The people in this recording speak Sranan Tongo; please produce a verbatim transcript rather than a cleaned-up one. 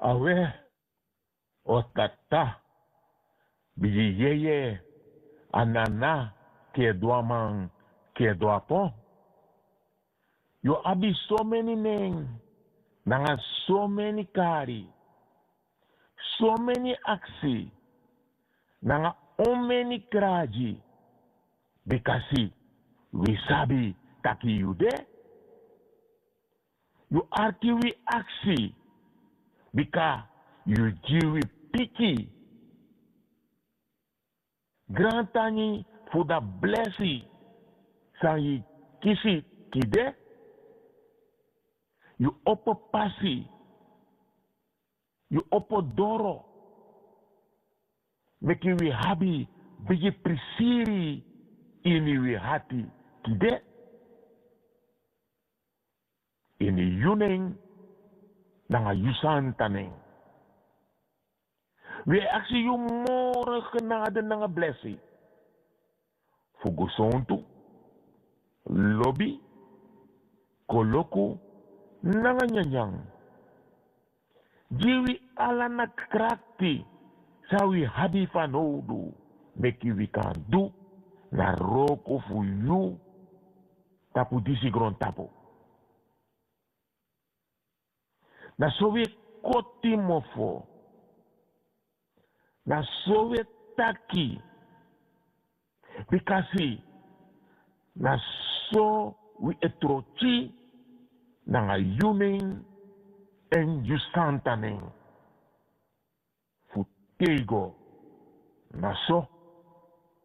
Awe, o tata, bigi yeye, a nana, kedu a man, kedu a pon. Yu abi someni nen nanga someni kari, someni aksi nanga omeni kragi, bikasi wi sabi taki yu de. Yu arki wi aksi, bika yu gi wi piki. Grantangi fu da blesi san yu kisi tide. Yu opo pasi, yu opo doro, meki wi abi bigi prisiri ini wi hati tide. Ini yu nen nanga yu santa nen. Wi e aksi yu moro genade nanga blesi fu gusontu, lobi, koloku nanga nyanyan. Gi wi ala na krakti san wi abi fanowdu, meki wi kan du na wroko fu yu tapu disi grontapu. Na so wi e koti mofo. Na so wi e taki. Bikasi na so wi e troki nanga yu nen èn yu santa nen. Fu tego na so.